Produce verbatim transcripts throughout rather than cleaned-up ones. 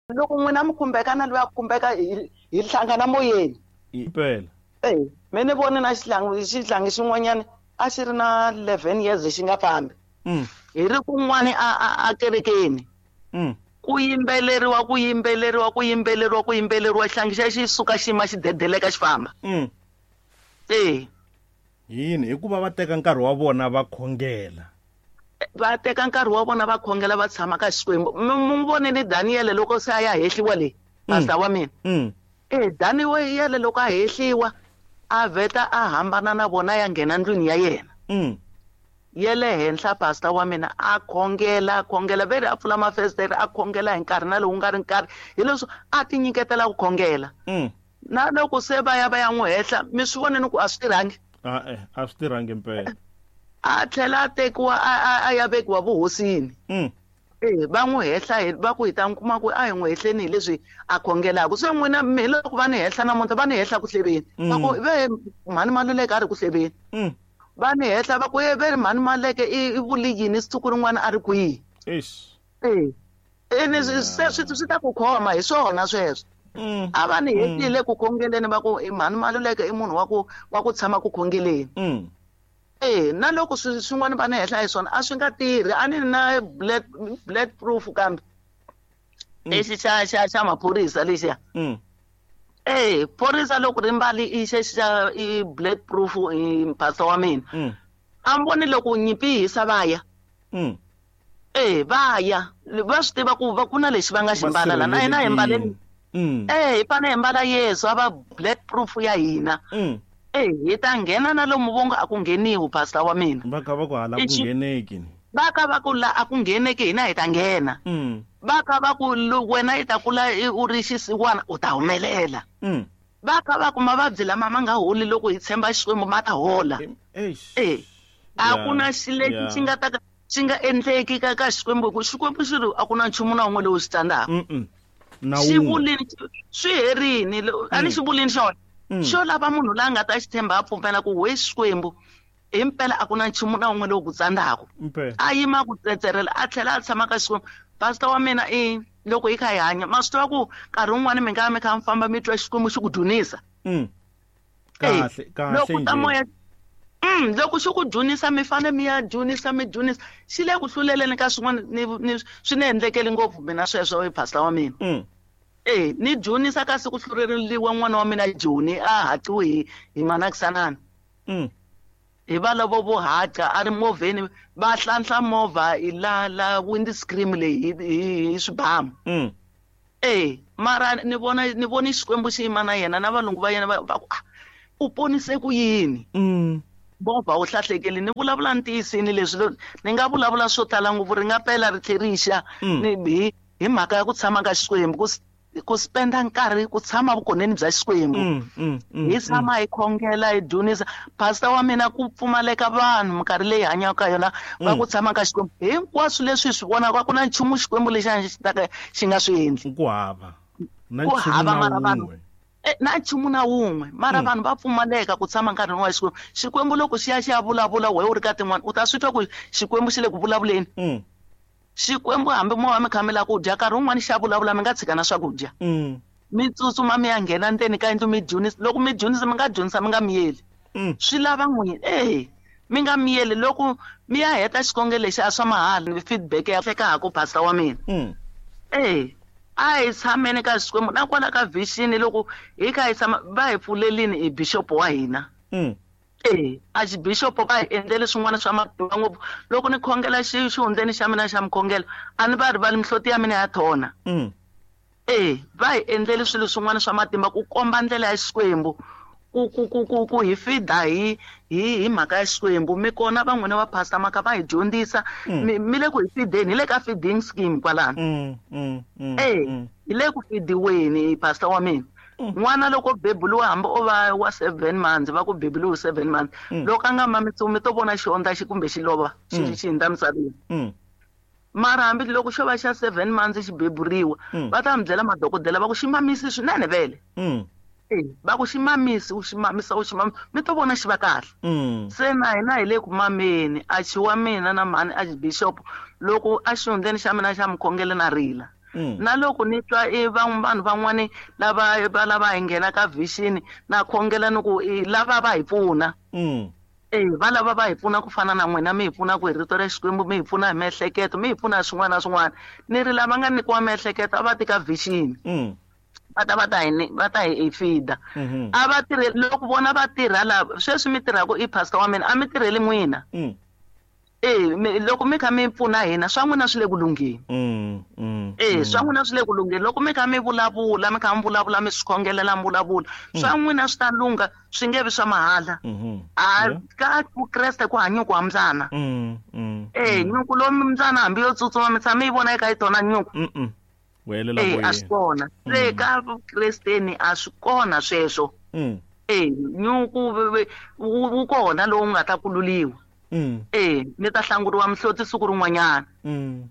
Loko n'wina mi khumbeka na loyi a khumbeka hi hi hlangana moyeni. Impela. Eh, me ni vone na xihlangi xihlangi xin'wanyana a xi ri na eleven years xi nga fambi. Mm. Hi ri kun'wani a a a kerekeni. Mm. Ku yimbeleriwa ku yimbeleriwa ku yimbeleriwa ku yimbeleriwa xihlangi xa xi suka xi yima xi dedeleka xi famba. Mm. Eh. Yini hikuva va teka nkarhi wa vona va khongela. Va teka nkarhi wa vona va khongela va tshama ka Xikwembu. Mi mi vonile Daniel loko se a ya hehliwa le, pastor wa mina. Mm. Eh Daniel loko a hehliwa a vheta a hambana na vona ya nghena ndlwini ya yena. Mm. Ye le henhla pastor wa mina a khongela a khongela veri a pfula mafestere a khongela hi nkarhi na lowu nga ri nkarhi hi leswi a ti nyiketela ku khongela. Mm. Na loko se va ya va ya n'wi hehla mi swi vonile ku a swi tirhangi. A eh a swi tirhangi impela. A tlhela a tekiwa a a a ya vekiwa vuhosini. Mm. Eh va n'wi hehla hi va ku hi ta n'wi kuma ku a hi n'wi hehleni hi leswi a khongelaka. Se n'wina mi loko va ni hehla namuntlha va ni hehla ku hleveni. Va ku ve mhani Maluleke a ri ku hleveni. Mm. Va ni hehla va ku e ve ri mhani Maluleke i i vule yini siku rin'wana a ri kwihi. Eish. Eh. Ene se swi swi ta ku khoma hi swona sweswo. Mm. A va ni hehlile ku khongeleni va ku i mhani Maluleke i munhu wa ku wa ku tshama ku khongeleni. Mm. Eh na loko swi swin'wana va ni hehla hi swona a swi nga tirhi a ni na blood blood proof kambe. Lexi xa xa xa maphorisa lexiya. Mm. Eh phorisa loko ri mbali i xexi xa i blood proof i pastor wa mina. Mm. A mi voni loko nyimpi yi hisa va ya. Mm. Eh va ya va swi tiva ku va ku na lexi va nga xi mbala la na hina hi mbaleni. Mm. Eh hi fanele hi mbala Yesu a va blood proof ya hina. Mm. Eh hi ta nghena na lomu vongo a ku ngheniwi pastor wa mina. Va kha va ku hala ku Lexi- ngheneki. Va kha va ku la a ku ngheneki hina hi ta nghena. Mm. Va kha va ku wena i ta kula u ri xisiwana u ta humelela. Mm. Va kha va ku mavabyi lama ma nga holi loko hi tshemba Xikwembu ma ta hola. Eish. Eh a ku na Yeah, xi lexi yeah. xi nga ta ka xi nga endleki ka ka Xikwembu hi ku Xikwembu xi ri a ku na nchumu na wun'we lowu xi tsandzaka. Mm mm. Na Xi wun'we. vulini swi herini a ni xi vulini xona. Mm. Xo lava munhu la nga ta xi tshemba a pfumela ku we Xikwembu himpela a ku na nchumu na wun'we lowu ku tsandzaka. Impela. A yima ku tsetserela a tlhela a tshama ka Xikwembu. Pastor wa mina i loko hi kha hi hanya ma swi tiva ku nkarhi wun'wani mi nga mi kha mi famba mi twa Xikwembu xi ku dzunisa. Mm. Eh, Kahle kahle loko ta njhe. moya Mm, loko xi ku dzunisa mi fane mi ya dzunisa mi dzunisa xi le ku hluleleni ka swin'wana ni ni swi ni endlekeli ngopfu mina sweswo pastor wa mina. Mm. Eh ni dzunisa kasi ku hlureriwa n'wana wa mina Joni a haqiwe hi hi manakisanana. Mm. Hi va lavo vo haqa a ri movheni va hlanhla movha hi la la windscreen leyi hi hi swibamu. Mm. Eh mara ni vona ni voni Xikwembu xi yima na yena na valungu va yena va va ku ah u ponise ku yini. Mm. Movha wu hlahlekeli ni vulavula ntiyisini leswi ni nga vulavula swo tala ngopfu ri nga pela ri tlhe ri xa Mm. ni hi hi mhaka ya ku tshama ka Xikwembu ku ku spenda nkarhi ku tshama vukoneni bya Xikwembu. Mm, mm, mm, Hi tshama hi khongela hi dzunisa pastor wa mina ku pfumaleka vanhu minkarhi leyi hanyaka ka yona va ku tshama ka Xikwembu hinkwaswo leswi hi swi vonaka ku na nchumu Xikwembu lexi a xi ta ka xi nga swi endli. Ku hava. Na Ku nchumu hava na mara vanhu wun'we. Eh, na nchumu na wun'we mara Mm. vanhu va pfumaleka ku tshama nkarhi wa Xikwembu. Xikwembu loko xi ya xi ya vulavula wehe u ri ka tin'wana u ta swi twa ku Xikwembu xi le ku vulavuleni. Mm. Xikwembu hambi mo va mi kha mi lava ku dya nkarhi wun'wani xa vulavula mi nga tshika na swakudya. Mm. Mi tsutsuma mi ya nghena ndzeni ka yindlu mi dzunisa loko mi dzunisa mi nga dzunisa mi nga miyeli. Mm. Swi lava n'wina eh mi nga miyeli loko mi ya heta xikhongelo lexi a swa mahala feedback ya hlekaka pastor wa mina. Mm. Eh a hi tshameni ka Xikwembu na kwala ka vision loko hi kha hi tshama va hi pfulelini i bishop wa hina. Mm. Eh archbishop va hi endlele swin'wana swa matimba ngopfu loko ni khongela xi xihundleni xa mina xa mukhongelo a ni va rivali mihloti ya mina ya thona. Mm. Eh va hi endlele swilo swin'wana swa matimba ku komba ndlela ya Xikwembu ku ku ku ku ku hi feeda hi hi hi mhaka ya Xikwembu mi kona van'wina va pastor maka va hi dyondzisa Mm. mi mi le ku hi feedeni hi le ka feeding scheme kwalano. Mm, mm, mm, Eh mm. hi le ku feediweni pastor wa mina. N'wana loko bebuliwa hambi o va wa seven months va ku bebuliwe seven months Mm. loko a nga mamisiwi mi to vona xihondla xi kumbe xi lova xi Mm. xi hundza misaveni. Mm. Mara hambi loko xo va xa seven months xi beburiwa Mm. va ta mi byela madokodela va ku xi mamisi swinene vele. Mm. Eh va ku xi mamisi u xi mamisa u xi mamisa mi to vona xi va kahle. Mm. Se na hina hi le ku mameni achi wa mina na mhani archbishop loko a xihundleni xa mina xa mukhongelo na rila. Na loko ni twa i vanhu van'wani lava va lava hi nghena ka vision na khongela ni ku lava va hi pfuna. Eh va lava va hi pfuna ku fana na n'wina mi hi pfuna ku hi rito ra Xikwembu mi hi pfuna hi miehleketo mi hi pfuna hi swin'wana na swin'wana. Ni ri lava nga nyikiwa miehleketo a va tika vision. Va ta va ta hi va ta hi feeda. A va tirhe loko vona va tirha la sweswi mi tirhaka i pastor wa mina a mi tirheli n'wina. Eh loko mi kha mi pfuna hina swa n'wina swi le ku lungheni. Eh swa n'wina swi le ku lungheni loko mi kha mi vulavula mi kha mi vulavula mi swi khongelela mi vulavula swa n'wina swi ta lungha swi nge vi swa mahala. A ka Vukreste ku hanya ku hambyana. Eh nyuku lomu mbyana hambi yo tsutsuma mi tshama mi yi vona eka yi tona nyuku. Eh a swi kona. Se ka Vukresteni a swi kona sweswo. Eh nyuku wu kona lowu nga ta kululiwa. Eh ni ta hlanguriwa mihloti siku rin'wanyana.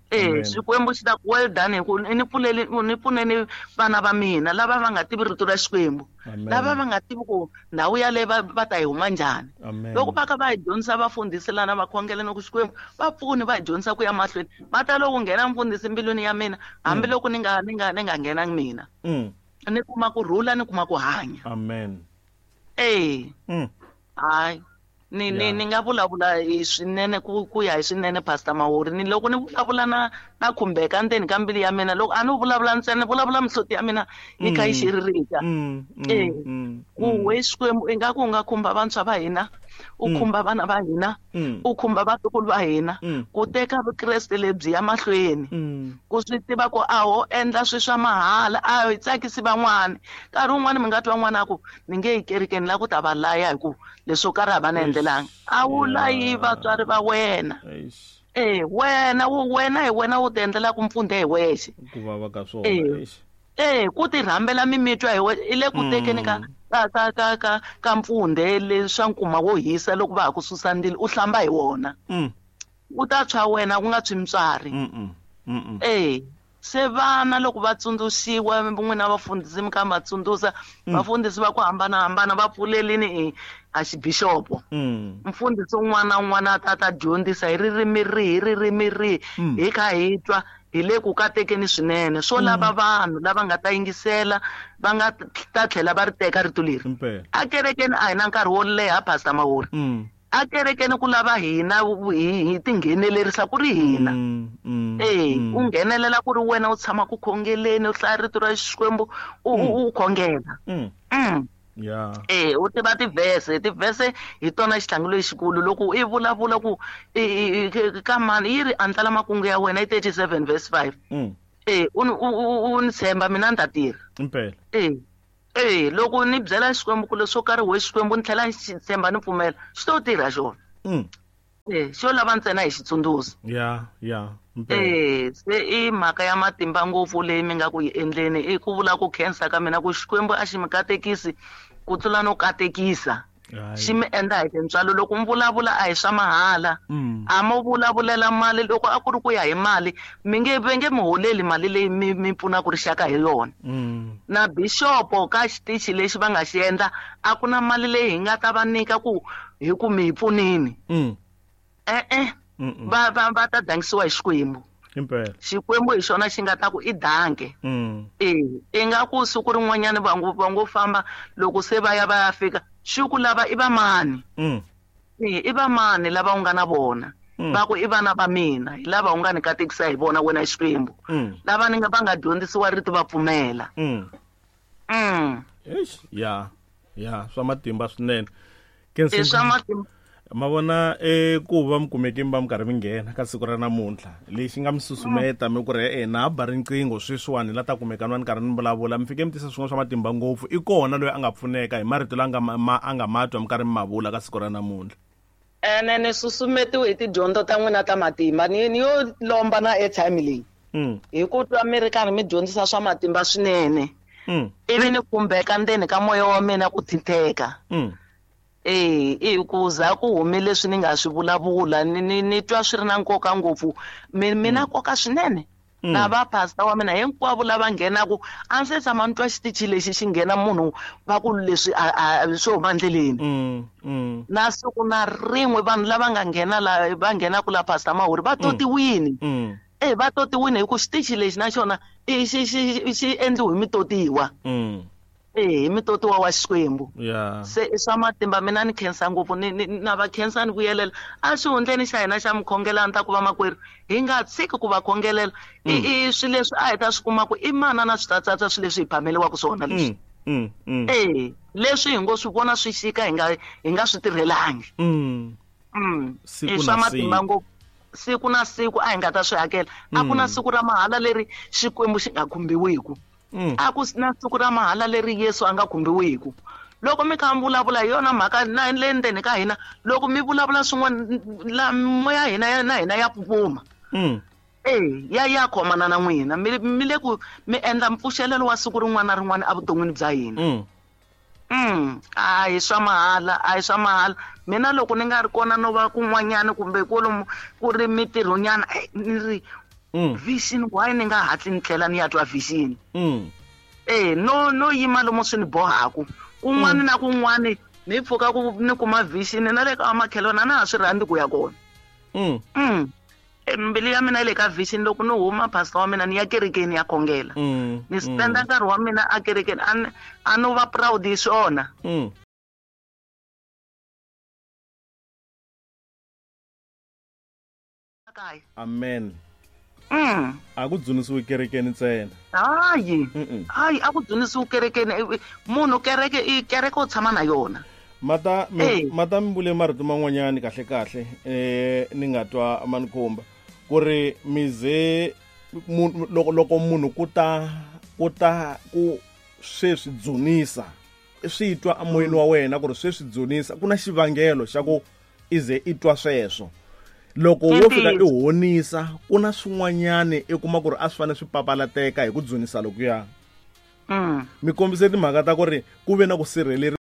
Eh Xikwembu xi ta ku well done hi ku ni pfuleli ni pfuneni vana va mina lava va nga tivi rito ra Xikwembu. Lava va nga tivi ku ndhawu yaleyo va va ta yi huma njhani. Loko va kha va hi dyondzisa vafundhisi lana va khongela ni ku Xikwembu va pfuni va hi dyondzisa ku ya mahlweni. Va ta loko nghena mfundhisi mbilwini ya mina hambiloko ni nga ni nga ni nga nghenangi mina. Ni kuma ku rhula ni kuma ku hanya. Amen. Eh. Hayi. Ni ni ni nga vulavula hi swinene ku ku ya hi swinene Pastor Mahori ni loko ni vulavula na na khumbeka ndzeni ka mbilu ya mina loko a ni vulavula ntsena vulavula mihloti ya mina yi kha yi xiririka. Eh ku we Xikwembu ingaku u nga khumba vantshwa va hina u khumba vana va hina u khumba vatukulu va hina ku teka Vukreste lebyi ya mahlweni ku swi tiva ku a ho endla swi swa mahala a hi tsakisi van'wani nkarhi wun'wani mi nga twa n'wana a ku ni nge yi kerekeni la ku ta va laya hi ku leswo karhi a va na endlelanga a wu layi vatswari va wena. Eh wena wena hi wena wu ti endlelaka mpfundhe hi wexe. Ku vava ka swona eish. Eh ku ti rhambela mimitwa hi wena i le ku tekeni ka ka ka ka ka ka mpfundhe leswa nkuma wo hisa loko va ha ku susa ndzilo u hlamba hi wona. U ta tshwa wena ku nga tshwi mutswari. Eh se vana loko va tsundzuxiwa n'wina vafundhisi mi kha va tsundzuxa vafundhisi va ku hambanahambana va pfulelini a xibixopo. Mfundhisi un'wana na un'wana a ta ta dyondzisa hi ririmi rihi ririmi rihi hi kha hi twa hi le ku katekeni swinene swo lava vanhu lava nga ta yingisela va nga ta tlhela va ri teka rito leri. A kerekeni a hi na nkarhi wo leha Pastor Mahori. A kerekeni ku lava hina hi tinghenelerisa ku ri hina. Eh u nghenelela ku ri wena u tshama ku khongeleni u hlaya rito ra Xikwembu u u khongela. Yeah. Eh u tiva tivhese tivhese hi tona xihlangu lexikulu loko i vulavula ku ka mani yi ri andlala makungu ya wena i thirty-seven verse five. Eh u u ni tshemba mina ni ta tirha. Impela. Eh eh loko ni byela Xikwembu ku leswo karhi we Xikwembu ni tlhela ni tshemba ni pfumela xi to tirha xona. Eh xo lava ntsena hi xitsundzuxo. Yeah, yeah. Eh se i mhaka ya matimba ngopfu leyi mi nga ku yi endleni i ku vula ku khensa ka mina ku Xikwembu a xi mi katekisi ku tlula no katekisa. Xi mi endla hi tintswalo loko mi vulavula a hi swa mahala. A mo vulavulela mali loko a ku ri ku ya hi mali mi nge va nge mi holeli mali leyi mi mi pfunaka rixaka hi yona. Na bixopo ka xitichi lexi va nga xi endla a ku na mali leyi hi nga ta va nyika ku hi ku mi hi pfunini. Eh eh va va va ta dangisiwa hi Xikwembu. Impela. Xikwembu hi xona xi nga ta ku i danke. Eh ingaku siku rin'wanyana va ngo va ngo famba loko se va ya va ya fika xi ku lava i va mani. Eh i va mani lava u nga na vona. Va ku i vana va mina hi lava u nga ni katekisa hi vona wena Xikwembu. Lava ni nga va nga dyondzisiwa rito va pfumela. Mm. Eish, ya. Ya, swa matimba swinene. I swa matimba. Ma vona e ku va mi kumeke mi va mi karhi mi nghena ka siku ra namuntlha lexi nga mi susumeta mi ku ri e na ba riqingho sweswiwani la ta kumeka ni karhi ni vulavula mi fike mi tisa swin'wana swa matimba ngopfu i kona loyi a nga pfuneka hi marito la nga ma a nga matwa mi karhi mi ma vula ka siku ra namuntlha. Ene ni susumetiwe hi tidyondzo ta n'wina ta matimba ni ni yo lomba na airtime leyi hi ku twa mi ri karhi mi dyondzisa swa matimba swinene ivi ni khumbeka ndzeni ka moya wa mina ku thinteka. Eh i ku za ku hume leswi ni nga swi vulavula ni ni ni twa swi ri na nkoka ngopfu mi mina nkoka swinene na va pastor wa mina hinkwavo lava nghenaku a ndzi se tshama ni twa xitichi lexi xi nghena munhu va ku leswi a swo huma endleleni. Na siku na rin'we vanhu lava nga nghena la va nghenaku la Pastor Mahori va totiwini. Eh va totiwini hi ku xitichi lexi na xona i xi xi xi endliwe hi mitotiwa. Mm. Eh hi mitotiwa wa Xikwembu. Yeah. Se i swa matimba mina ni khensa ngopfu ni na va khensa ni vuyelela a xihundleni xa hina xa mukhongelani ta ku va makwerhu hi nga tshiki ku va khongelela i i swilo leswi a hi ta swi kuma ku i mana na switsatsatsa swilo leswi hi phameliwaka swona leswi. Mm, mm. Eh leswi hi ngo swi vona swi xika hi nga hi nga swi tirhelangi. Mm. Mm. I swa matimba ngopfu siku na siku a hi nga ta swi hakela. A ku na siku ra mahala leri Xikwembu xi nga khumbiwiku. A ku na siku ra mahala leri Yesu a nga khumbiwiku. Loko mi kha mi vulavula hi yona mhaka na le ndzeni ka hina, loko mi vulavula swin'wana la moya hina na hina ya pupuma. Mm. Eh ya ya khomana na n'wina mi mi le ku mi endla mpfuxelelo wa siku rin'wana na rin'wana evuton'wini bya hina. Mm. Mm. A hi swa mahala, a hi swa mahala. Mina loko ni nga ri kona no va kun'wanyana kumbe kwalomu ku ri mitirhonyana ni ri vision why ni nga hatli ni tlhela ni ya twa vision. Mm. Eh no no yima lomu swi ni bohaku. Kun'wana na kun'wana ni pfuka ku ni kuma vision na le ka makhelwana na ha swi rhandzi ku ya kona. Mm. Mm. Mbilu ya mina yi le ka vision loko ni huma pastor wa mina ni ya kerekeni ya khongela. Mm. Ni spenda nkarhi wa mina a kerekeni a a no va proud hi swona. Mm. Amen. Mm. A ku dzunisiwi kerekeni ntsena. Hayi. Hayi a ku dzunisiwi kerekeni. Munhu kereke i kereke u tshama na yona. Mata mi mata mi vule marito man'wanyani kahle kahle eh ni nga twa manikhumba ku ri mize loko loko munhu ku ta ku ta ku sweswi dzunisa swi twa amoyeni wa wena ku ri sweswi dzunisa ku na xivangelo xa ku ize i twa sweswo. Loko wo fika i honisa ku na swin'wanyani i kuma ku ri a swi fanele swi papalateka hi ku dzunisa lokuya. Mm. Mi kombise timhaka ta ku ri ku ve na ku sirheleriwa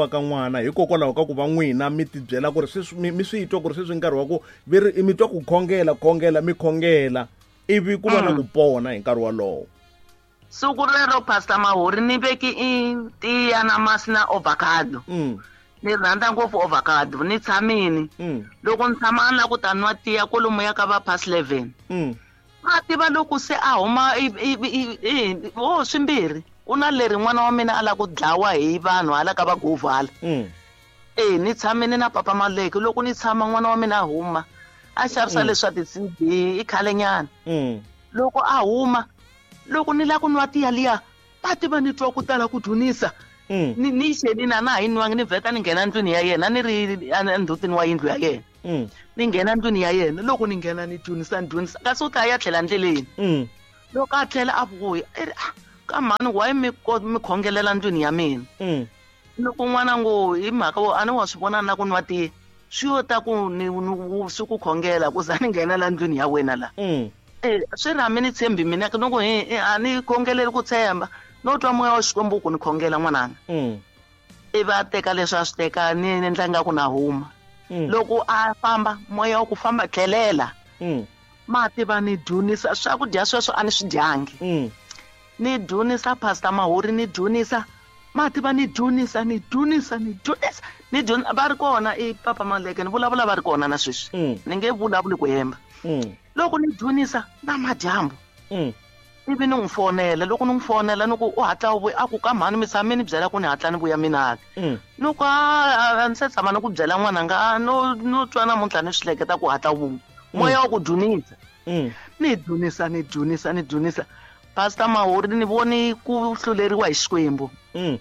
ka n'wana hikokwalaho ka ku va n'wina mi tibyela ku ri sweswi mi swi twa ku ri sweswi nkarhi wa ku vi ri mi twa ku khongela khongela mi khongela ivi ku va na ku pona hi nkarhi wolowo. Siku rero Pastor Mahori ni veki i tiya na masi na avocado. Mm. Ni rhandza ngopfu avocado ni tshamini. Mm. Loko ni tshama na ku ta nwa tiya kwalomu ya ka va past eleven. Mm. A tiva loko se a huma i i o swimbirhi. Ku na leri n'wana wa mina a lava ku dlawa hi vanhu hala ka va govala. Mm. Eh ni tshamini na papa Maleke loko ni tshama n'wana wa mina a huma a xavisa leswa ti-C D i khalenyana. Mm. Loko a huma loko ni lava ku nwa tiya liya va tiva ni twa ku tala ku dzunisa. Mm. Ni ni xeli na na hi nwangi ni vheta ni nghena ndlwini ya yena ni ri endzhutini wa yindlu ya yena. Mm. Ni nghena ndlwini ya yena loko ni nghena ni dzunisa ni dzunisa kasi u ta ya tlhela ndleleni. Mm. Loko a tlhela a vuya i ri ka mhani why mi mi khongelela ndlwini ya mina. Mm. Loko n'wana ngo hi mhaka wo a ni wa swi vona na ku nwa tiya swi yo ta ku ni swi ku khongela ku za ni nghena la ndlwini ya wena la. Mm. Eh swi ri hambi ni tshembi mina loko hi a ni khongeleli ku tshemba no twa moya wa Xikwembu ku ni khongela n'wananga. Mm. Ivi a teka leswi a swi teka ni endla nga ku na huma. Mm. Loko a famba moya wa ku famba tlhelela. Mm. Ma tiva ni dzunisa swakudya sweswo a ni swi dyangi. Mm. Ni dzunisa Pastor Mahori ni dzunisa ma tiva ni dzunisa ni dzunisa ni dzunisa ni dzunisa va ri kona i papa Maleke ni vulavula va ri kona na sweswi. Mm. Ni nge vulavuli ku hemba. Mm. Loko ni dzunisa na madyambu. Mm. Ivi ni n'wi fonela loko ni n'wi fonela ni ku u hatla u vuya a ku ka mhani mi tshame ni byela ku ni hatla ni vuya mina ke. Mm. Ni ku a ni se tshama ni ku byela n'wananga no no twa namuntlha ni swi hleketa ku hatla u vuya. Moya wa ku dzunisa. Mm. Ni dzunisa ni dzunisa ni dzunisa. Pastor Mahori ni voni ku hluleriwa hi Xikwembu. Mm.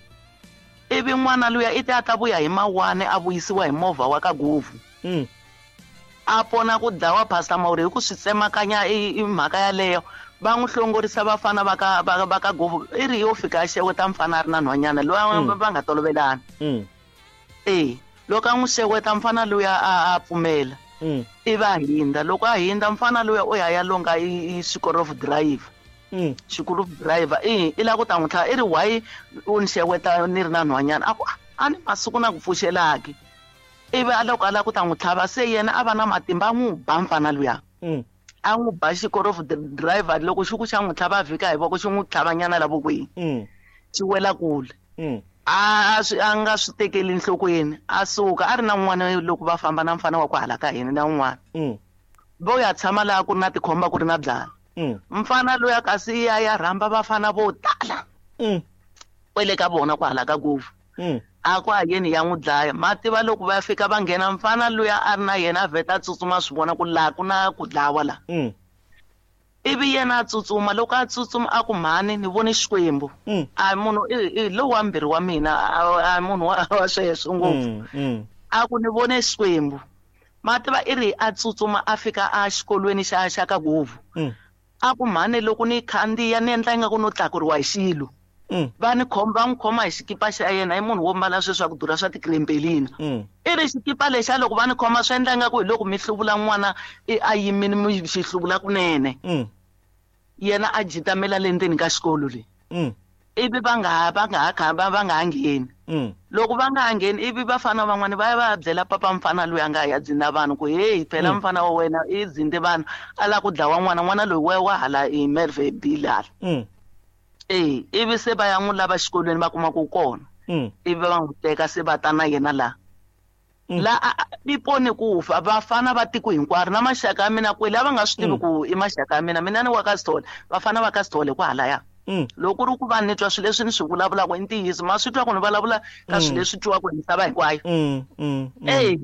Ivi n'wana luya i ta ta vuya hi mawani a vuyisiwa hi movha wa ka Govu. Mm. A pona ku dlawa Pastor Mahori hi ku swi tsemakanya i mhaka yaleyo va n'wi hlongorisa vafana va ka va ka Govu i ri yo fika a xeweta mfana a ri na nhwanyana loyi va nga tolovelani. Mm. Eh loko a n'wi xeweta mfana luya a a pfumela. Mm. Ivi a hindza loko a hindza mfana luya u ya ya longa i xikorofu driver. Mm. Xikorofu driver i i lava ku ta n'wi tlhava i ri why u ni xeweta ni ri na nhwanyana a ku a ni masiku na ku pfuxelaki. Ivi a loko a lava ku ta n'wi tlhava se yena a va na matimba a n'wi ba mfana luya. Mm. A n'wi ba xikorofu driver loko xi ku xa n'wi tlhava a vhika hi voko xi n'wi tlhavanyana la vokweni. Mm. Xi wela kule. Mm. A swi a nga swi tekeli enhlokweni a suka a ri na n'wana loko va famba na mfana wa ku hala ka hina na un'wana. Mm. Vo ya tshama laha ku ri na tikhomba ku ri na byala. Mm. Mfana loyi a kasi ya ya rhamba vafana vo tala. Mm. Kwele ka vona ku hala ka Guvu. Mm. A ku a yeni ya n'wi dlaya mativa loko va fika va nghena mfana luya a ri na yena a vheta a tsutsuma swi vona ku laha ku na ku dlawa la. Mm. Ivi yena a tsutsuma loko a tsutsuma a ku mhani ni vone Xikwembu. Mm. A munhu i lowu wa mbirhi wa mina a munhu wa wa sweswo ngopfu. Mm. Mm. A ku ni vone Xikwembu. Mativa i ri a tsutsuma a fika a xikolweni xa xa ka Guvu. Mm. A ku mhani loko ni khandziya ni endla ingaku no tlakuriwa hi xilo. Mm. Va ni khoma va n'wi khoma hi xikipa xa yena i munhu wo mbala sweswi swa ku durha swa tikrempelina. Mm. I ri xikipa lexa loko va ni khoma swi endla ingaku hi loko mi hluvula n'wana a yimile mi xi hluvula kunene. Mm. Yena a jitamela le ndzeni ka xikolo le. Mm. Ivi va nga ha va nga ha kha va nga ha ngheni. Mm. Loko va nga ha ngheni ivi vafana van'wana va ya va ya byela papa mfana loyi a nga ya dzinda vanhu ku hey phela Mm. mfana wa wena i dzinde vanhu a lava ku dlawa n'wana n'wana loyi wa wa hala i Merwe Bilal. Mm. Eh ivi se va ya n'wi lava xikolweni va kuma ku kona. Mm. Ivi va n'wi teka se va ta na yena laha. Mm. La i pone ku fa vafana va tiko hinkwaro na maxaka ya mina kwele a va nga swi tivi Mm. ku i maxaka ya mina mina ni wa ka Sithole vafana va ka Sithole kwahalaya. Mm. Loko ku ri ku va ni twa swilo leswi ni swi vulavulaka i ntiyiso ma swi twa ku ni vulavula ka Mm. swilo leswi twiwaka hi misava hinkwayo. Mm. Mm. Mm. Eh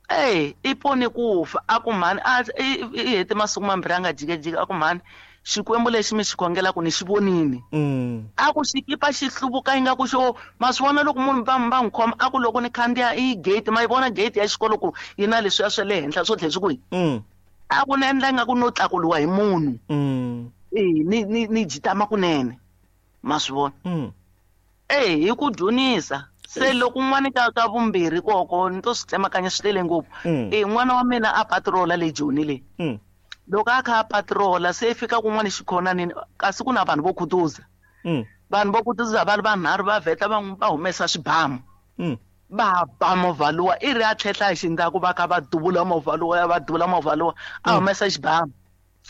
eh i pone ku fa a ku mhani a i hete masiku mambirhi a nga jikajiki a ku mhani Xikwembu lexi mi xi khongelaka ni xi vonile. Mm. A ku xikipa xi hluvuka ingaku xo ma swi vona loko munhu va va n'wi khoma a ku loko ni khandziya i gate ma yi vona gate ya xikolo ku yi na leswiya swa le henhla swo tlhela swi kwihi. Mm. A ku ni endla ingaku no tlakuriwa hi munhu. Mm. Eh ni ni ni jitama kunene ma swi vona. Mm. Eh hi ku dyonisa se loko n'wana ka ka vumbirhi koko ni to swi tsemakanya swi tele ngopfu. Mm. Eh n'wana wa mina a patrola le Joni le. Mm. Loko a kha a patrola se fika kun'wana xikhonanini kasi ku na vanhu vo khutuza. Mm. Vanhu vo khutuza va ri vanharhu va vheta va va humesa swibamu. Mm. Va ba movha luwa i ri a tlhehla hi xindzhaku va kha va duvula movha luwa va duvula movha luwa a humesa xibamu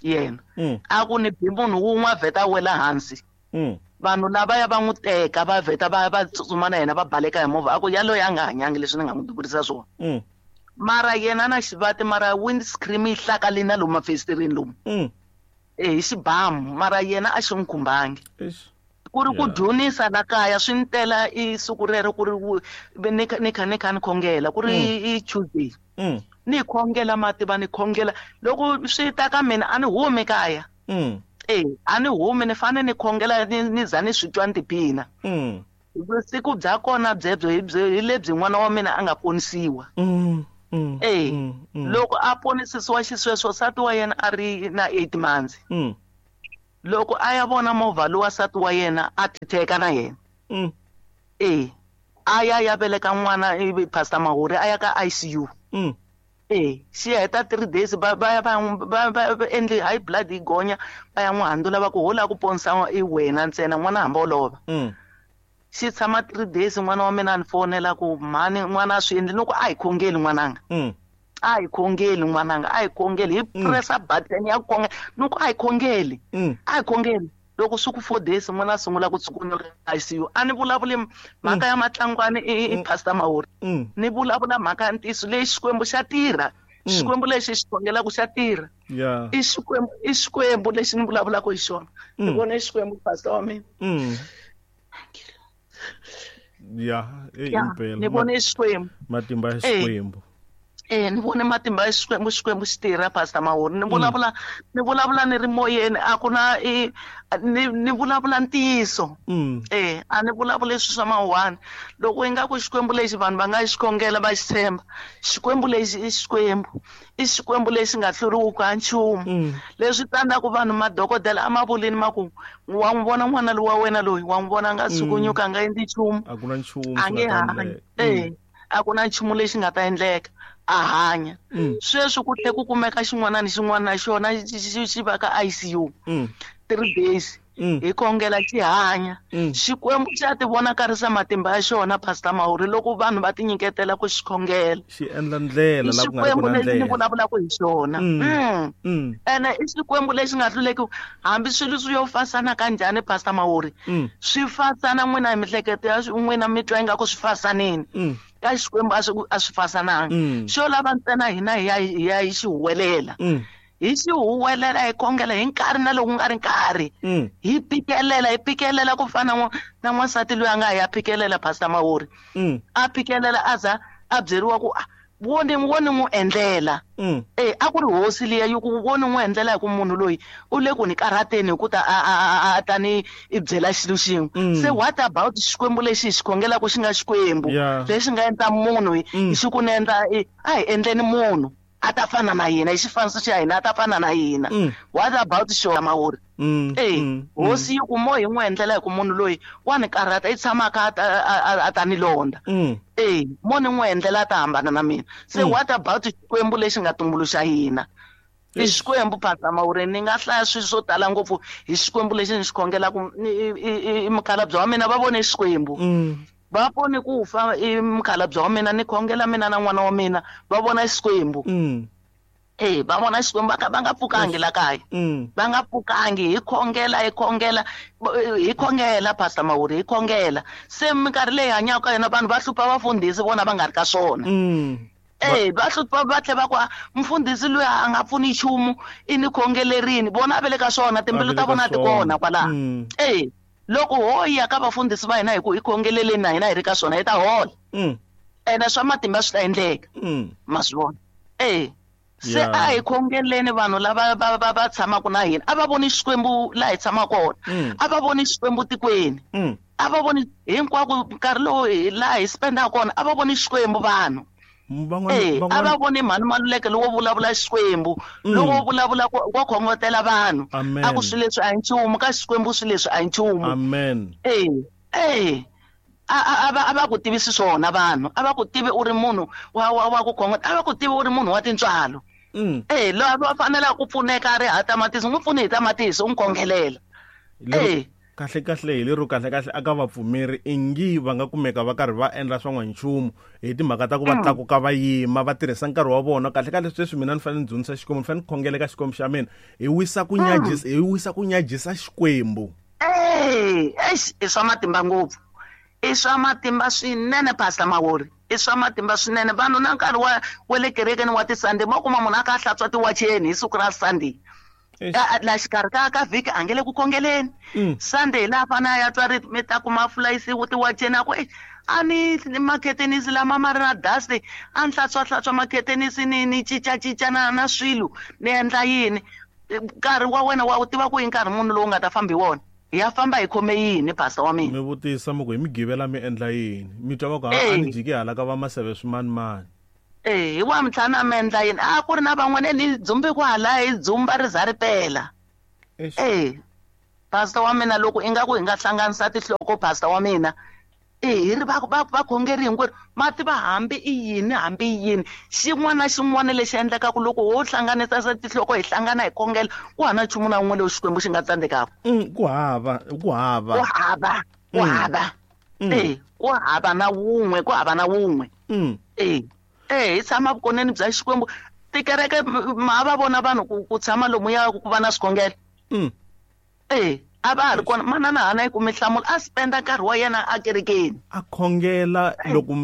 yena. Mm. A ku ni bi munhu wun'we a vheta a wela hansi. Mm. Vanhu lavaya va n'wi teka va vheta va va tsutsuma na yena va baleka hi movha a ku yaloye a nga hanyangi leswi ni nga n'wi duvurisa swona. Mm. Mara yena na xivati mara windscreen yi hlakalini na lomu mafesitereni lomu. Mm. Eh hi xibamu mara yena a xi n'wi khumbangi. Eish. Ku ri ku Yeah. dyonisa la kaya swi ni tela i siku rero ku ri ni kha ni kha ni kha ni khongela ku ri Mm. i Tuesday. Mm. Ni khongela mativa ni khongela loko swi ta ka mina a ni humi kaya. Mm. Eh a ni humi ni fane ni khongela ni ni za ni swi twa ni tiphina. Mm. Vusiku bya kona byebyo hi byo hi lebyi n'wana wa mina a nga ponisiwa. Mm. Mm. Eh Mm. Mm. loko a ponisisiwa xisweswo nsati wa yena a ri na eight months. Mm. Loko a ya vona movha lowa nsati wa yena a titheka na yena. Mm. Eh a ya ya veleka n'wana ivi Pastor Mahuri a ya ka I C U. Mm. Eh xi heta three days va va ya va va va endli high blood yi gonya va ya n'wi handzula va ku ho lava ku ponisa i wena ntsena n'wana hamba u lova. Mm. Xi tshama three days n'wana wa mina a ni fonela ku mhani n'wana a swi endli ni ku a hi khongeli n'wananga. Mm. A hi khongeli n'wananga a hi khongeli hi Mm. pressa button ya khongela ni ku a hi khongeli. Mm. A hi khongeli loko swi ku four days n'wana a sungula ku tsukunyuka I C U a ni vulavuli mhaka ya matlangwani i i Pastor Mahuri. Mm. Ni vulavula mhaka ya ntiyiso leyi Xikwembu xa tirha. Mm. Xikwembu lexi xi khongelaka xa tirha. Yeah. I Xikwembu i Xikwembu lexi ni vulavulaka hi xona. Ni Mm. vone Xikwembu Pastor wa mina. Mm. Yeah, eh Ya, impela. ni vone Xikwembu. Matimba ya Eh. Xikwembu. Eh ni vone matimba ya Xikwembu Xikwembu xi tirha Pastor Mahuri. Ni vulavula ni vulavula ni ri moyeni a ku na i ni ni vulavula ntiyiso. Mm. Eh a ni vulavuli swilo swa mawuwani. Loko ingaku Xikwembu lexi vanhu va nga xi khongela va xi tshemba. Xikwembu lexi i Xikwembu. I Xikwembu lexi nga hluriwiki ha nchumu. Mm. Leswi tsandzaka vanhu madokodela a ma vulini ma ku wa n'wi vona n'wana loyi wa wena loyi wa n'wi vona a nga tshukunyuka a nga endli nchumu. A ku na nchumu A swi nge nga ta hanyi. endleka. Eh a ku na nchumu lexi nga ta endleka a hanya. Mm. Sweswi ku tlhe ku kumeka xin'wana ni xin'wana na xona xi xi xi va ka I C U. Mm. Three days. Hi khongela xi hanya. Xikwembu xa ti vonakarisa matimba ya xona Pastor Mawuri loko vanhu va tinyiketela ku xi khongela. Xi endla ndlela la ku nga ri ku na ndlela. Ni vulavulaka hi xona. Ene i Xikwembu lexi nga hluleki hambi swilo swi yo fasana kanjhani Pastor Mawuri. Swi fasana n'wina hi mihleketo ya n'wina mi twa ingaku swi fasanini. Ka Xikwembu a swi a swi fasananga. Xo lava ntsena hina hi ya hi ya hi xi huwelela. Hi xi huwelela hi khongela hi nkarhi na loko ku nga ri nkarhi. Hi phikelela hi phikelela ku fana na n'wansati loyi a nga ya phikelela Pastor Mawuri. A phikelela a za a byeriwa ku wo ni wo ni n'wi endlela. Eh a ku ri hosi liya yi ku wo ni n'wi endlela hi ku munhu loyi u le ku ni karhateni hi ku ta a ta ni i byela xilo xin'we. Se what about Xikwembu lexi hi xi khongelaka xi nga Xikwembu lexi nga endla munhu hi xi ku ni endla a hi endleni munhu a ta fana na hina hi xifaniso xa hina a ta fana na hina. What about xona Mawuri? Eh hosi yi ku mo hi n'wi endlela hi ku munhu loyi wa ni karhata i tshama a kha a ta ni londa. Eh mo ni n'wi endlela a ta hambana na mina. Se what about Xikwembu lexi nga tumbuluxa hina? I Xikwembu Pastor Mawuri ni nga hlaya swilo swo tala ngopfu hi Xikwembu lexi ni xi khongelaka i mukhalabye wa mina va vone Xikwembu. Va pone ku fa i mukhalabye wa mina ni khongela mina na n'wana wa mina va vona Xikwembu. Eh va vona Xikwembu va nga pfukangi la kaya. Va nga pfukangi hi khongela hi khongela hi khongela Pastor Mawuri hi khongela. Se minkarhi leyi hanyaka ka yona vanhu va hlupha vafundhisi vona va nga ri ka swona. Eh va hlupha va tlhe va ku mfundhisi loyi a nga pfuni nchumu i ni khongelerini vona va le ka swona timbilu ta vona ti kona kwalaho. Eh loko ho ya ka vafundhisi va hina hi ku hi khongeleleni na hina hi ri ka swona hi ta hola. Ene swa matimba swi ta endleka. Ma swi vona. Eh se a hi khongeleni vanhu lava va va va tshamaka na hina a va voni Xikwembu laha hi tshamaka kona. A va voni Xikwembu tikweni. A va voni hinkwako nkarhi lowu laha hi spendaka kona a va voni Xikwembu vanhu. Eh a va voni mhani Maluleke lowo vulavula Xikwembu lowo vulavula wa khongotela vanhu a ku swilo leswi a hi nchumu ka Xikwembu swilo leswi a hi nchumu. Amen. Eh eh a va a va ku tivisi swona vanhu a va ku tivi u ri munhu wa wa wa ku khongota a va ku tivi u ri munhu wa tintswalo. Eh loyi va fanelaka ku pfuneka a ri ha tamatisi n'wi pfuni hi tamatisi u n'wi khongelela. Eh kahle kahle hi lero kahle kahle aka vapfumeri ingi va nga kumeka va karhi va endla swa n'wanchumu hi timhaka ta ku va tlakuka va yima va tirhisa nkarhi wa vona kahle kahle sweswi mina ni fanele ni dzunisa Xikwembu ni fanele ni khongela ka Xikwembu xa mina hi wisa ku nyajisa hi wisa ku nyajisa Xikwembu. Eh eish i swa matimba ngopfu. I swa matimba swinene Pastor Mawuri. I swa matimba swinene vanhu na nkarhi wa wa le kerekeni wa ti-Sunday mo kuma munhu a kha a hlantswa tiwacheni hi siku ra Sunday. La xikarhi ka ka vhiki a nge le ku khongeleni. Sunday laha fana a ya twa ri mi ta kuma fulayisiwe tiwacheni a ku a ni makhetenisi lama ma ri na dust a ni hlantswa hlantswa makhetenisi ni ni cincacinca na na swilo ni endla yini. Nkarhi wa wena wa wu tiva ku i nkarhi munhu lowu nga ta famba hi wona. Hi ya famba hi khome yini Pastor wa mina? Mi vutisa mi ku hi migivela mi endla yini mi twa va ku a ni jiki hala ka va maseve swimanimani. Eh hi wa mintlhanu a mi endla yini a ku ri na van'wana ni dzumbi kwala hi dzumba ri za ri pela. Eh Pastor wa mina loko ingaku hi nga hlanganisa tinhloko Pastor wa mina eh hi ri va va vakhongeri hinkwerhu ma tiva hambi i yini hambi i yini xin'wana na xin'wana lexi endlekaka loko ho hlanganisa tinhloko hi hlangana hi khongela ku hava nchumu na wun'we lowu Xikwembu xi nga tsandzekaka. Ku hava ku hava ku hava ku hava eh ku hava na wun'we ku hava na wun'we. Eh eh hi tshama vukoneni bya Xikwembu tikereke ma va vona vanhu ku ku tshama lomuya ku va na swikhongelo. Eh a va ha ri kona manana hana yi kume nhlamulo a spenda nkarhi wa yena a kerekeni a khongela loko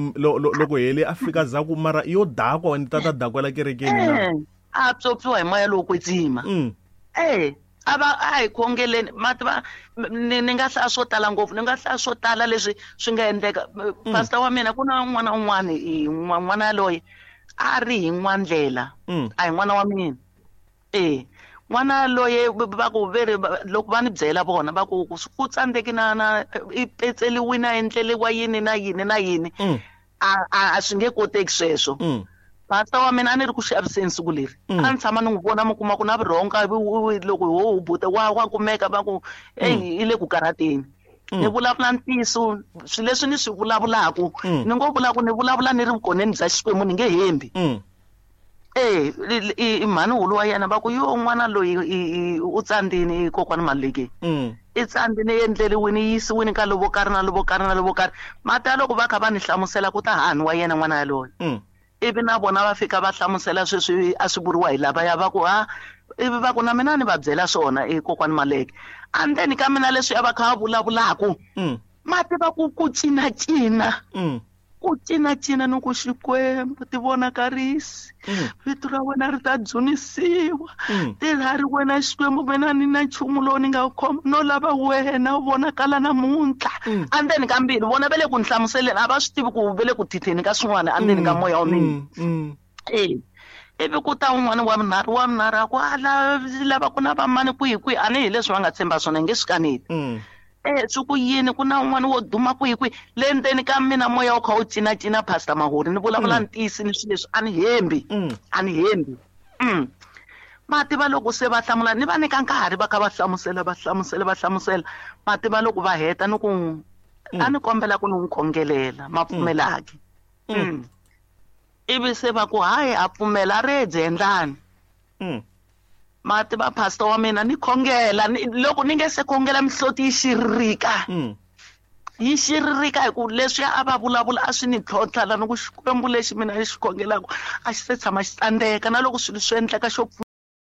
loko hele a fika zaku mara yo dakwa ni tata dakwela kerekeni na a pyopyiwa hi moya lowo kwetsima. Eh a va a hi khongeleni ma tiva ni ni nga hlaya swo tala ngopfu ni nga hlaya swo tala leswi swi nga endleka. Pastor wa mina ku na n'wana un'wana n'wana yaloye a ri hi n'wandlela a hi n'wana wa mina. Eh n'wana loyi va ku veri loko va ni byela vona va ku ku tsandzeki na na i petseliwini a endleliwa yini na yini na yini a a swi nge koteki sweswo. Pastor wa mina a ni ri ku xaviseni siku leri a ni tshama ni n'wi vona mi kuma ku na vurhonga loko ho hubuta wa wa kumeka va ku eyi i le ku karhateni. Ni vulavula ntiyiso swilo leswi ni swi vulavulaka ni ngo vula ku ni vulavula ni ri vukoneni bya Xikwembu ni nge hembi. Eh i mhani wulu wa yena va ku yo n'wana loyi u tsandzini kokwani Maluleke. I tsandzi ni endleriwini yi yisiwini ka lovo karhi na lovo karhi na lovo karhi. Mati ya loko va kha va ni hlamusela ku ta hani wa yena n'wana yaloye. Mm. Ivi na vona va fika va hlamusela sweswi a swi vuriwa hi lavaya va ku ha ivi va ku na mina ni va byela swona e kokwani Maleke. Andzeni ka mina leswi a va kha va vulavulaku. Mm. Mati va ku ku cinacina. Mm. Ku cinacina ni ku Xikwembu ti vonakarisi. Mm. Vito ra wena ri ta dzunisiwa. Mm. Ti ra ri wena Xikwembu mina ni na nchumu lowu ni nga wu khoma no lava wena u vonakala namuntlha. Mm. Andzeni ka mbilu vona va le ku ni hlamuseleni a va swi tivi ku va le ku thitheni ka swin'wana andzeni ka Mm. moya wa mina. Mm. Mm. E. Ivi ku ta un'wana wa vunharhu wa vunharhu a ku a la lava ku na vamani kwihi kwihi a ni hi leswi va nga tshemba swona hi nge swi kaneti. Mm. Eh swi ku yini ku na un'wana wo duma kwihi kwihi le ndzeni ka mina moya wu kha wu cinacina Pastor Mahuri ni vulavula Mm. ntiyisi ni swilo leswi a ni hembi. Mm. A ni hembi. Mm. Mati va loko se va hlamula ni va nyika nkarhi va kha va hlamusela va hlamusela va hlamusela mati va loko va heta ni ku a ni kombela ku ni n'wi khongelela ma pfumelaki. Mm. Mm. Ivi se va ku hayi a pfumela redzi endlani. Mm. Mati va pastor wa mina ni khongela ni loko ni nge se khongela mihloti yi xiririka. Mm. Yi xiririka hi ku leswi a va vulavula a swi ni tlhontlha la ni ku Xikwembu lexi mina ni xi khongelaka a xi se tshama xi tsandzeka na loko swilo swi endleka xo